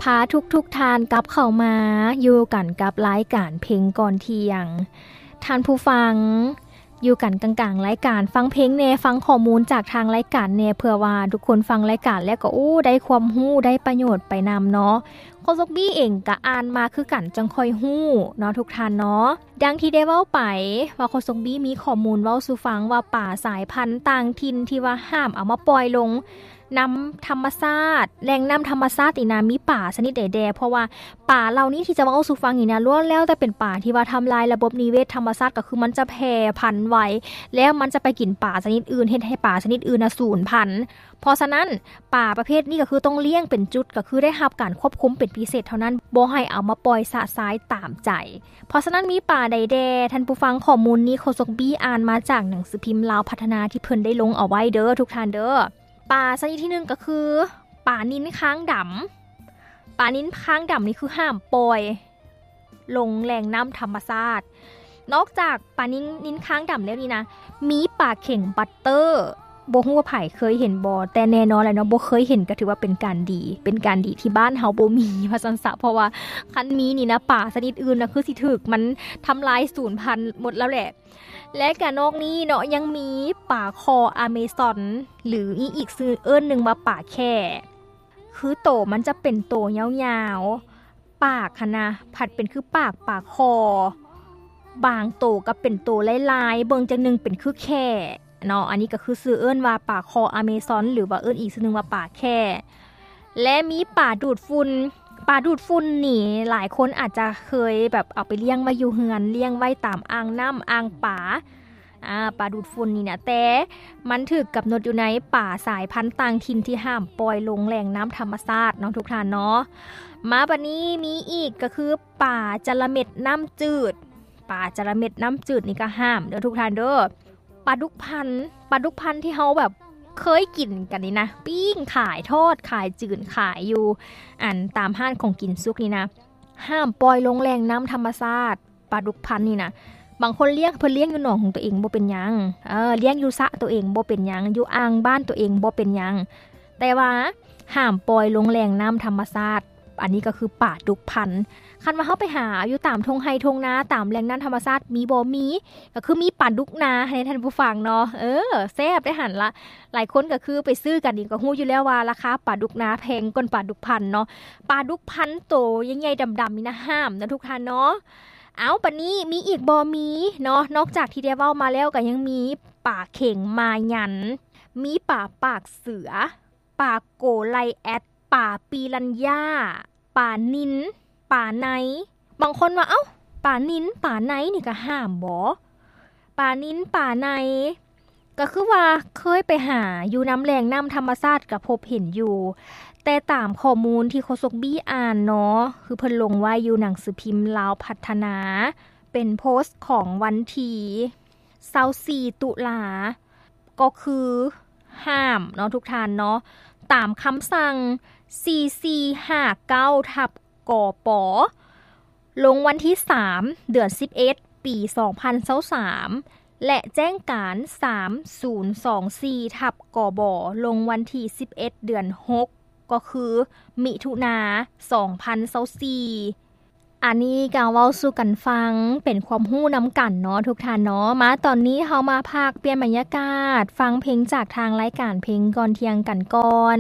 ພາທຸກໆທ່ານກັບເຂົ້າມາຢູ່ກັນກັບລາຍການເພງກ່ອນທ່ຽງ. ທ່ານຜູ້ຟັງ ຢູ່ກັນກາງໆລາຍການ ຟັງເພງແດ່ ຟັງຂໍ້ມູນຈາກທາງລາຍການແດ່ ເພື່ອວ່າທຸກຄົນຟັງລາຍການແລ້ວກໍ ໂອ້ ໄດ້ຄວາມຮູ້ ໄດ້ປະໂຫຍດໄປນຳເນາະ. ໂຄສົກບີເອງກະອ່ານມາຄືກັນ ຈັ່ງຄ່ອຍຮູ້ເນາະທຸກທ່ານເນາະ. ດັ່ງທີ່ໄດ້ເວົ້າໄປວ່າ ໂຄສົກບີມີຂໍ້ມູນເວົ້າສູ່ຟັງວ່າ ປາສາຍພັນຕ່າງຖິ່ນທີ່ວ່າຫ້າມເອົາມາປ່ອຍລົງ ນ້ຳທຳມະຊາດ ແຫຼ່ງນ້ຳທຳມະຊາດນີ້ນະ ມີປາຊະນິດໃດແດ່? ເພາະວ່າປາເຫຼົ່ານີ້ທີ່ຈະມາເວົ້າສູ່ຟັງນີ້ນະ ລ້ວນແລ້ວແຕ່ເປັນປາທີ່ວ່າທຳລາຍລະບົບນິເວດທຳມະຊາດ ກໍຄືມັນຈະແຜ່ພັນໄວ ແລ້ວມັນຈະໄປກິນປາຊະນິດອື່ນ ເຮັດໃຫ້ປາຊະນິດອື່ນນະສູນພັນ. ເພາະສະນັ້ນ ປາປະເພດນີ້ກໍຄືຕ້ອງລ້ຽງເປັນຈຸດ ກໍຄືໄດ້ຮັບການຄວບຄຸມເປັນພິເສດເທົ່ານັ້ນ ບໍ່ໃຫ້ເອົາມາປ່ອຍຊະຊາຍຕາມໃຈ. ເພາະສະນັ້ນ ມີປາໃດແດ່? ທ່ານຜູ້ຟັງ ຂໍ້ມູນນີ້ໂຄສົກບີອ່ານມາຈາກໜັງສືພິມລາວພັດທະນາທີ່ເພິ່ນໄດ້ລົງເອົາໄວ້ເດີ ທຸກທ່ານເດີ. ປາຊະນິດທີໜຶ່ງກໍຄື ປານິນຄາງດຳ. ປານິນຄາງດຳນີ້ຄືຫ້າມປ່ອຍລົງແຫຼ່ງນ້ຳທຳມະຊາດ. ນອກຈາກປານິນ ນິນຄາງດຳແລ້ວນີ້ນະ ມີປາເຂັງບັດເຕີ. ບໍ່ຮູ້ວ່າໃຜເຄີຍເຫັນບໍ່? ແຕ່ແນ່ນອນແຫຼະເນາະ ບໍ່ເຄີຍເຫັນກໍຖືວ່າເປັນການດີ ເປັນການດີທີ່ບ້ານເຮົາບໍ່ມີວ່າຊັ້ນຊະ ເພາະວ່າຄັນມີນີ້ນະ ປາຊະນິດອື່ນນະ ຄືຊິຖືກມັນທຳລາຍສູນພັນໝົດແລ້ວແຫຼະ. ແລະກະນອກນີ້ເນາະ ຍັງມີປາຄໍອາເມຊອນ ຫຼື ມີອີກຊື່ເອີ້ນໜຶ່ງວ່າປາແຂ້ ຄືໂຕມັນຈະເປັນໂຕຍາວໆ ປາກຫັ້ນນະ ພັດເປັນຄືປາກປາຄໍ ບາງໂຕກໍເປັນໂຕລາຍໆ ເບິ່ງຈັ່ງໜຶ່ງເປັນຄືແຂ້ເນາະ. ອັນນີ້ກໍຄືຊື່ເອີ້ນວ່າປາຄໍອາເມຊອນ ຫຼືວ່າເອີ້ນອີກຊື່ໜຶ່ງວ່າປາແຂ້. ແລະມີປາດູດຝຸ່ນ. ປາດູດຝຸ່ນນີ້ຫຼາຍຄົນອາດຈະເຄີຍແບບເອົາໄປລ້ຽງໄວ້ຢູ່ເຮືອນ ລ້ຽງໄວ້ຕາມອ່າງນ້ຳອ່າງປາ ອາ ປາດູດຝຸ່ນນີ້ນະ ແຕ່ມັນຖືກກຳນົດຢູ່ໃນປາສາຍພັນຕ່າງຖິ່ນທີ່ຫ້າມປ່ອຍລົງແຫຼ່ງນ້ຳທຳມະຊາດເນາະ ທຸກທ່ານເນາະ. ມາບັດນີ້ມີອີກກໍຄືປາຈະລະເມັດນ້ຳຈືດ. ປາຈະລະເມັດນ້ຳຈືດນີ້ກໍຫ້າມເດີ ທຸກທ່ານເດີ. ປາດຸກພັນ ປາດຸກພັນທີ່ເຮົາແບບເຄີຍກິນກັນນີ້ນະ ປີ້ງຂາຍ ທອດຂາຍ ຈືນຂາຍຢູ່ ອັນຕາມຮ້ານຂອງກິນສຸກນີ້ນະ ຫ້າມປ່ອຍລົງແຫຼ່ງນ້ຳທຳມະຊາດ. ປາດຸກພັນນີ້ນະ ບາງຄົນລ້ຽງ ເພິ່ນລ້ຽງຢູ່ໜອງຂອງຕົວເອງບໍ່ເປັນຫຍັງ ເອີ ລ້ຽງຢູ່ສະຕົວເອງບໍ່ເປັນຫຍັງ ຢູ່ອ່າງບ້ານຕົວເອງບໍ່ເປັນຫຍັງ ແຕ່ວ່າຫ້າມປ່ອຍລົງແຫຼ່ງນ້ຳທຳມະຊາດ. ອັນນີ້ກໍຄືປາດຸກພັນ. ຄັນວ່າເຮົາໄປຫາຢູ່ຕາມທົ່ງໄຮ່ທົ່ງນາ ຕາມແຫຼ່ງນ້ຳທຳມະຊາດ ມີບໍ່? ມີ ກໍຄືມີປາດຸກນາໃຫ້ທ່ານຜູ້ຟັງເນາະ. ເອີ ແຊບໄດ໋ຫັ້ນລະ. ຫຼາຍຄົນກໍຄືໄປຊື້ກັນນີ້ ກໍຮູ້ຢູ່ແລ້ວວ່າລາຄາປາດຸກນາແພງກ່ອນປາດຸກພັນເນາະ. ປາດຸກພັນໂຕໃຫຍ່ໆດຳໆນີ້ນະ ຫ້າມເນາະ ທຸກທ່ານເນາະ. ເອົ້າ ບັດນີ້ມີອີກບໍ່? ມີເນາະ. ນອກຈາກທີ່ໄດ້ເວົ້າມາແລ້ວ ກໍຍັງມີປາເຂັງມາຍັນ, ມີປາປາກເສືອ, ປາໂກໄລແອັດ, ປາປີລັນຍາ, ປານິນ, ປາໄນ. ບາງຄົນວ່າ ເອົ້າ ປານິນ ປາໄນນີ້ກະຫ້າມບໍ? ປານິນ ປາໄນ ກໍຄືວ່າເຄີຍໄປຫາຢູ່ນຳແຫຼ່ງນ້ຳທຳມະຊາດກໍພົບເຫັນຢູ່, ແຕ່ຕາມຂໍ້ມູນທີ່ໂຄສົກບີອ່ານເນາະ ຄືເພິ່ນລົງໄວ້ຢູ່ໜັງສືພິມລາວພັດທະນາ ເປັນໂພສຂອງວັນທີຊາວສີ່ຕຸລາ ກໍຄືຫ້າມເນາະ ທຸກທ່ານເນາະ, ຕາມຄຳສັ່ງສີ່ສີ່ຫ້າເກົ້າທັບ ກປ ລົງວັນທີສາມ ເດືອນສິບເອັດ ປີສອງພັນຊາວສາມ ແລະ ແຈ້ງການສາມສູນສອງສີ່ທັບ ກບ ລົງວັນທີສິບເອັດ ເດືອນຫົກ ກໍຄືມິຖຸນາ ສອງພັນຊາວສີ່. ອັນນີ້ກໍເວົ້າສູ່ກັນຟັງເປັນຄວາມຮູ້ນຳກັນເນາະ ທຸກທ່ານເນາະ. ມາຕອນນີ້ເຮົາມາພັກປ່ຽນບັນຍາກາດ ຟັງເພງຈາກທາງລາຍການເພງກ່ອນທ່ຽງກັນກ່ອນ.